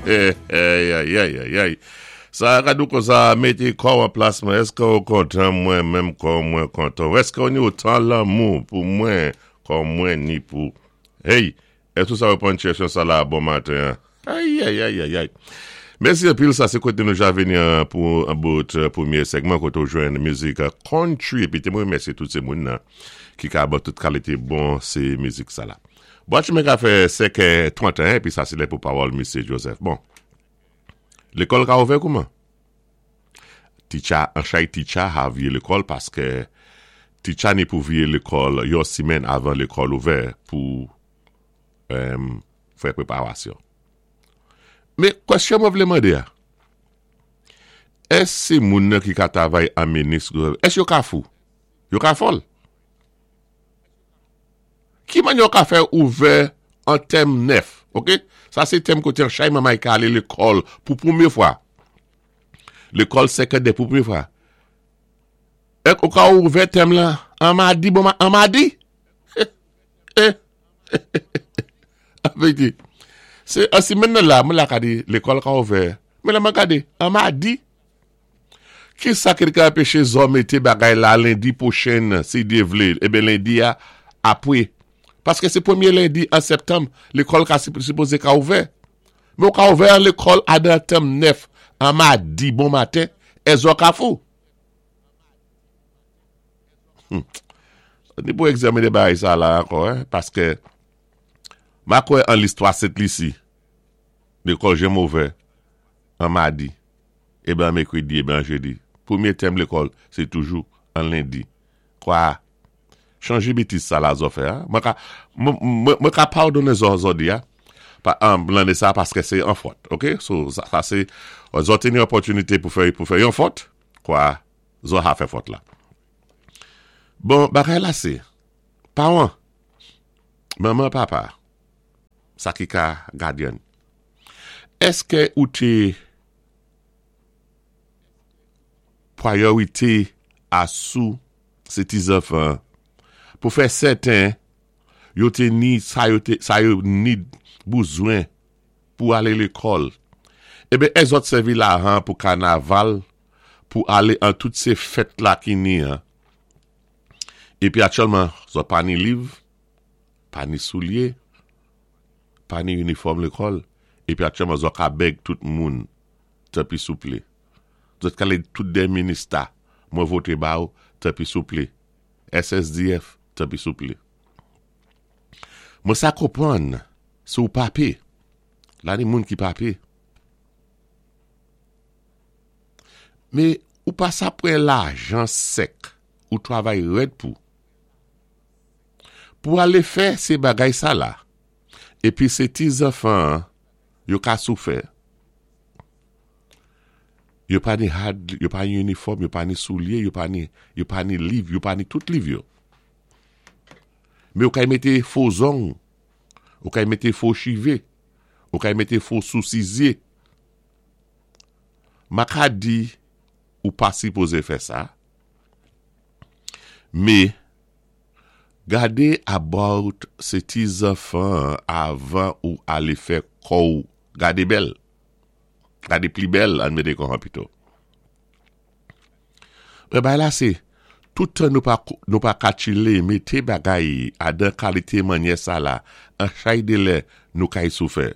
Ayayayayay Sa ka di w konsa mete kò w an plas mwen Èske w kontan mwen menm kòm mwen kontan w Èske w ni otan lanmou pou mwen kòm mwen ni pou Hey Èske w sa reponn chèchon sa la bon maten an Ayayayayay Mèsi anpil sa se kote nou ja vini an pou an bout premye sègman kote w jwenn mizik country epi te mwen remèsye tout se moun nan ki ka ban tout kalite bon se mizik sa la. Bwat chimen ka fè 5 è 31 epi sa se lè pou pawòl misye Joseph. Bon. Lekòl ka ouvè kouman? Ticha an chay ticha ha vye lekòl paske ticha ni pou vye lekòl yon simèn avan lekòl ouvè pou fè preparasyon. Men kwèsyon mwen vle mande a, èske se moun nan ki ka travay an minis, èske yo ka fou? Yo ka fòl? Ki manyè ou ka fè ouvè an tèm 9? Ok, sa se tèm kote an chay manmay ka ale lekòl pou premye fwa. Lekòl sekondè pou premye fwa. Èk ou ka ouvè tèm lan an madi, bon an madi? Avèdi, se an simenn nan la, mwen la ka di lekòl ka ouvè. Men la mwen gade, an madi. Ki sa ki te ka anpeche zò mete bagay la lendi pwochen si Dye vle, eben lendi a apre. Paske se premye lendi an septanm lekòl ka sipoze ka ouvè. Men ou ka ouvè an lekòl a nan tèm 9 an madi bon maten e zò ka fou. Hum. Ni pou egzamine bagay sa la ankò, paske ma kwè an listwa Sent Lisi lekòl janm ouvè an madi. Eben an mekredi, eben an jedi. Premye tèm lekòl se toujou an lendi. Kwa, chanje betiz sa la zò fè a. Mwen ka, mwen ka padonnen zò zò di a, pa, an, lanne sa a paske se an fòt. Ok? So, sa se, zò te ni opòtinite pou fè, pou fè yon fòt, kwa, zò ha fè fòt la. Bon, bagay la se, paran, manman, papa, sa ki ka gadyen, èske ou te. Priorite a sou se ti zanfan pou fè sèten yo te ni sa yo te sa yo need bouzwen pou ale lekòl. Eben èzòt sèvi lahan pou kanaval pou ale an tout se fèt la ki ni an. Epi aktyèlman zòt pa ni liv, pa ni soulye, pa ni inifòm lekòl, epi aktyèlman zòt ka bèg tout moun. Tanpi souple. Zòt kale tout dè minista mwen vote ba ou tanpi souple. SSDF tanpi souple. Mwen sa konprann si ou pa pe. La ni moun ki pa pe. Me ou pa sa pran lajan sèk ou travay rèd pou. Pou ale fè se bagay sa la. Epi se ti zanfan an yo ka soufè. Yo pa ni had, yo pa ni inifòm, yo pa ni soulye, yo pa ni, yo pa ni liv, yo pa ni tout liv yo. Men ou kay mete fo zong, ou kay mete fo chive, ou kay mete fo sousi zye. Ma ka di ou pa sipoze fè sa, me Gade about se ti zanfan an avan ou ale fè kòw gade bèl. Gade pli bèl ann mete kò an pito. Men bagay la se tout tan nou pa nou pa ka tchile mete bagay adan kalite manyè sa la an chay de lè nou kay soufè.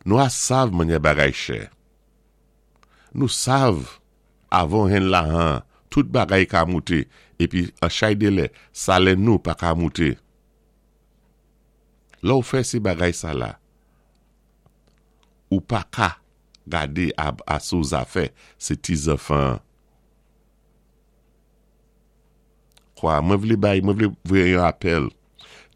Nou a sav manyè bagay chè. Nou sav Avon hen la han tout bagay ka moute epi an chay de lè salè nou pa ka moute. Lè w fè se bagay sa la ou pa ka gade a sou zafè se ti zanfan an. Kwa mwen vle bay mwen vle voye yon apèl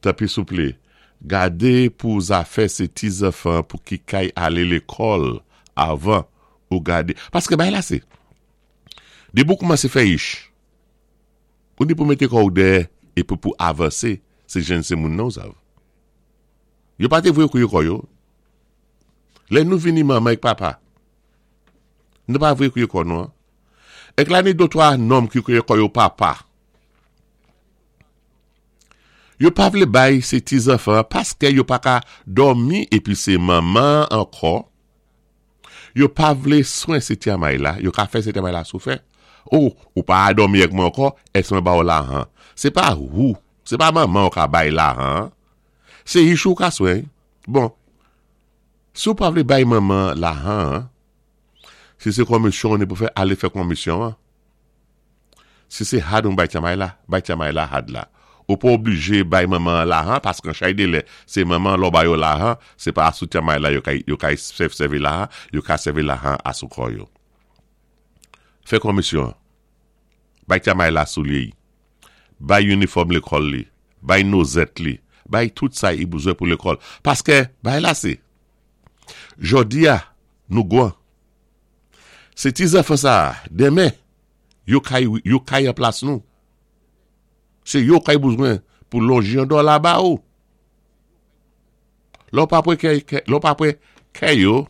tanpri souple gade pou zafè se ti zanfan pou ki kay ale lekòl avan ou gade paske bagay la se depi ou koumanse fè ich ou ni pou mete kò ou dèyè epi pou avanse se jenn se moun nan ou sav yo pa te vwe kouye kò yo lè nou vini manman ek papa nou pa vwe kouye kò nou an Ek la ni dotwa nonm ki kouye kò yo papa. Yo pa vle bay se ti zanfan an paske yo pa ka dòmi epi se manman an ankò. Yo pa vlé swen sé tyamay la, yo ka fè sé tyamay la soufè. O, ou pa a dòmi èk mwen ankò, èske mwen ba ou lahan? Se pa wou, se pa manman ou ka bay lahan an. Se ich ou ka swen. Bon, si ou pa vle bay manman lahan an, si se konmisyon ou ni pou fè, ale fè konmisyon an. Si se had ou bay tyamay la, bay tyamay la had la. Ou pa oblije bay manman an lahan paske an chay de lè se manman lè w ba yo lahan, se pa asou tyamay la yo kay yo kay sèvi lahan, yo ka sèvi lahan asou kò yo. Fè konmisyon an. Bay tyamay la soulye y. Bay inifòm lekòl li. Bay nozèt li. Bay tout sa y bezwen pou lekòl. Paske bay la se. Jòdi a, nou gwan. Se ti zanfan sa a, demen, yo kay yo kay an plas nou. Se yo kay bezwen pou lonji yon dòla ba ou. Lè w pa pre kè, lè w pa pre kè yo,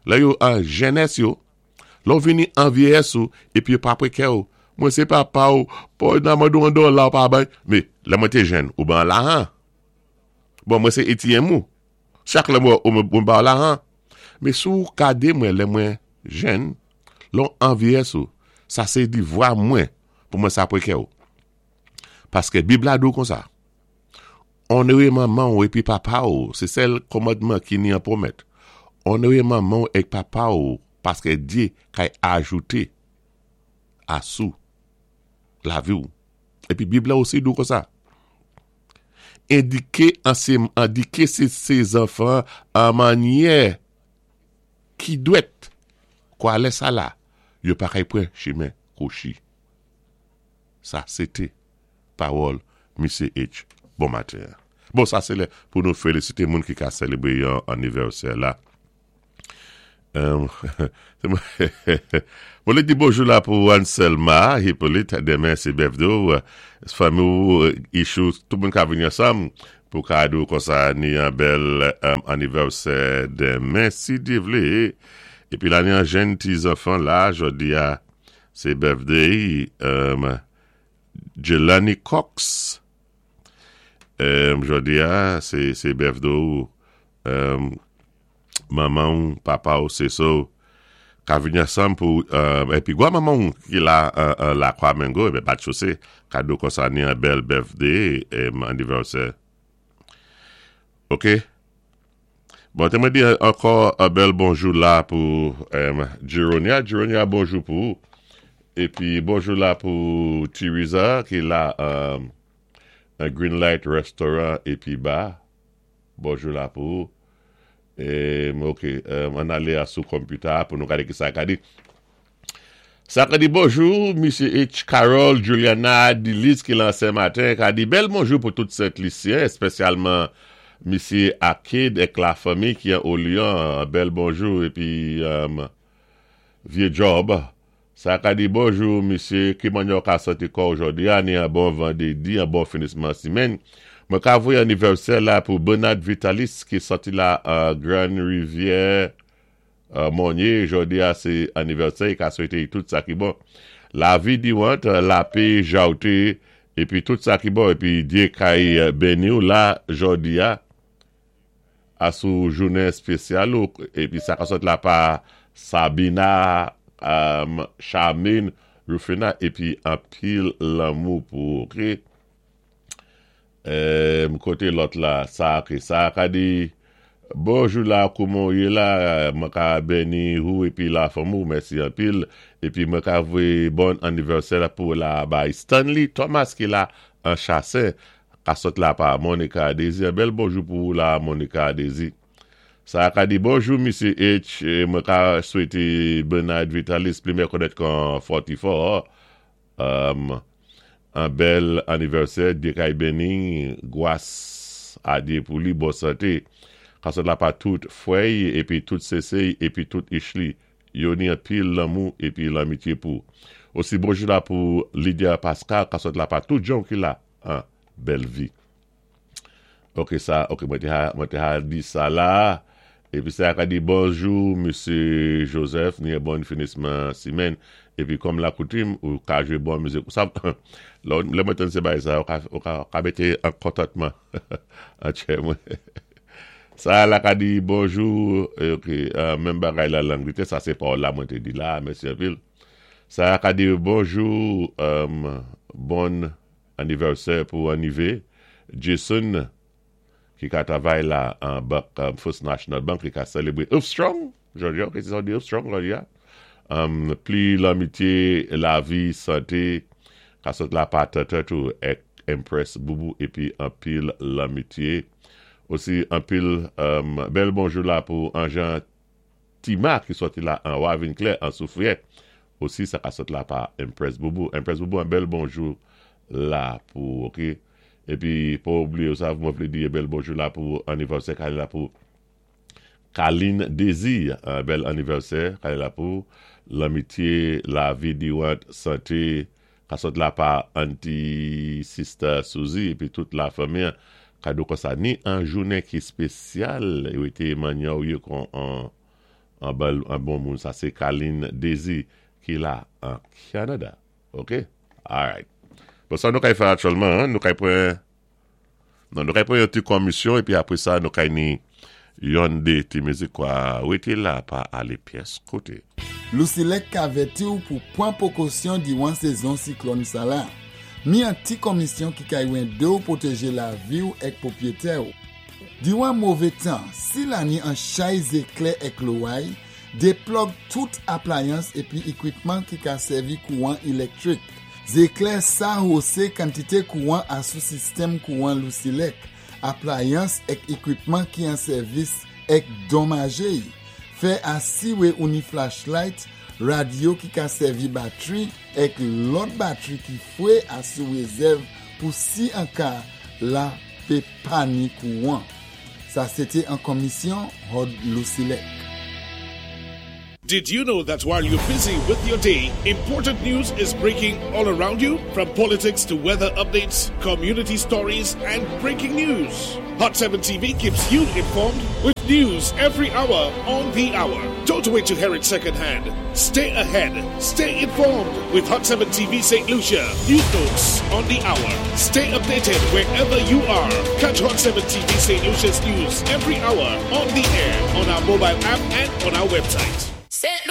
lè yo an jenès yo, lè w vini an vyeyès ou, epi yo pa pre kè ou, mwen se papa ou, pou nan mande w yon dòla ou pa bay. Men, lè mwen te jèn, ou ban lahan. Bon, mwen se ATM ou. Chak lè mwen wè ou mwen ba w lahan. Men si w gade mwen lè mwen jèn, lè w anvyeyès ou, sa se divwa mwen pou mwen sa pre kè ou. Paske Bib la di w konsa, Onore manman w epi papa w, se sèl kòmandman ki ni an pwomèt. Onore manman w èk papa w paske Dye kay ajoute asou lavi w. Epi Bib la osi di w konsa, Endike ansem endike se se zanfan an manyè ki dwèt kwa lè sa la yo pa kay pran chimen kwochi. Sa se te pawòl Misye H bon maten an. Bon sa se lè pou nou felisite moun ki ka selebre yon anivèsè la. Mwen vle di bonjou la pou Anselma Hyppolite, demen se birthday ou, fanmi ou, Ichou, tout moun ka vini ansanm pou ka di ou konsa ni yon bèl anivèsè demen si Dye vle. Epi la ni yon jenn ti zanfan la, jodi a se birthday Jelani Cox, jodi a se birthday ou. Manman w, papa w, sese w ka vini ansanm pou epi gwa manman w ki la lakwa mengo ebyen bat chose kado konsa ni an bèl birthday anniversaire ok bon te mwen di ankò an bèl bonjou la pou Jeronia Jeronia bonjou pou ou epi bonjou la pou Tiriza ki la an Green Light Restaurant epi ba. Bonjou la pou ou. Ok, ann ale a sou computer a pou nou gade ki sa ka di. Sa ka di bonjou, Misye H. Carol, Juliana, Diliz ki lan Sen Maten, ka di bèl bonjou pou tout Sent Lisyen, espesyalman Misye Akid ek la fanmi ki an Olian, bèl bonjou epi vye djòb. Sa ka di bonjou misye, ki mannyè w ka santi kò w jòdi a ni an bon vandredi an bon finisman simenn. Mwen ka voye anivèsè la pou Bernard Vitalis ki sòti la an Grann Rivyè Monye jòdi a se anivèsè i ka swete i tout sa ki bon. Lavi diwant, lape, jawte epi tout sa ki bon epi Dye kay beni w la jòdi a. A sou jounen espesyal ou epi sa ka sot la pa Sabina Charmaine Rufina epi anpil lanmou pou ou ok kote lòt la sa ok sa ka di bonjou la kouman ou ye la mwen ka beni ou epi la fanmi ou mèsi anpil epi mwen ka voye bon anivèsè pou la bay Stanley Thomas ki la an chasè Ka sot la pa Monica Désir bèl bonjou pou ou la Monica Désir sa ka di bonjou misye H mwen ka swete Bernard Vitalis pli mè konèt kan 44 um an bèl anivèsè Dye kay beni gwas a Dye pou li bon sante ka sot la pa tout frèy epi tout sesey epi tout Ishly yo ni anpil lanmou epi lanmitye pou osi bonjou la pou Lydia Pascal ka sot la pa tout jan ki la an bèl vi ok sa ok mwen te ha mwen te ha di sa la epi sa ka di bonjou mesye Joseph ni bon finisman simèn epi kòm la koutim ou ka jwe bon mizik ou sa lè mwen tann se bagay sa ou ka ou ka mete an kontantman an tchè mwen. Sa la ka di bonjou, ok, menm bagay la Langletè, sa sé pa la mwen té di la, mèsi anpil. Sa ka di bonjou, bon anivèsè pou anivé, Jason, ki ka travay la an bank, First National Bank, ki ka selebré Strong, jòdi a, ok, sé sa di Strong, jòdi a. Pli lanmityé, lavi, santé, ka sot la pa tètè tou, èk Empress Boubou, épi anpil lanmityé. Osi anpil bèl bonjou la pou Anjan Tima ki sòti la an Wavin Claire an Soufrière. Osi sa ka sot la pa Empress Boubou. Empress Boubou, an bèl bonjou la pou, ok. Épi pou oublié sa, mwen vlé di bèl bonjou la pou anivèsè ka la pou Kaline Désir, an bèl anivèsè ka la pou lanmityé, lavi dirant, santé, ka sot la pa Auntie Sister Suzy épi tout la fanmi kado kon sa ni an jounen ki spésyal yo été manyan ou yo kon an bèl an bon moun. Sa sé Kaline Désir ki la an Kanada. Ok? Alright. Bon, sa nou kay fè aktyèlman, nou kay pran non, nou kay pran yon ti komisyon épi apwé sa nou kay ni yon dé ti mizik kwa wété la pa alé pyès koté. Lucelec ka vèti ou pou pwan pwékosyon diwan sézon siklòn sa la. Mi an ti komisyon ki kay wendé ou pwotéjé lavi ou èk pwopwétè ou. Diwan mové tan, si la ni an chay zéklè èk loway, déplòg tout aplayans épi ékwipman ki ka sèvi kouwan ilèktwik. Zéklè sa hosé kantité kouwan asou sistèm kouwan Lucelec, aplayans èk ékwipman ki an sèvis èk donmajé. Fè asiwé ou ni flashlight, radyo ki ka sèvi batwi èk lòt batwi ki fwé asou wézèv pou si an ka la pé pa ni kouwan. Sa sé té an komisyon Hod Lucelec. Did you know that while you're busy with your day, important news is breaking all around you? From politics to weather updates, community stories, and breaking news. Hot 7 TV keeps you informed with news every hour on the hour. Don't wait to hear it secondhand. Stay ahead. Stay informed with Hot 7 TV St. Lucia. News notes on the hour. Stay updated wherever you are. Catch Hot 7 TV St. Lucia's news every hour on the air, on our mobile app, and on our website. St.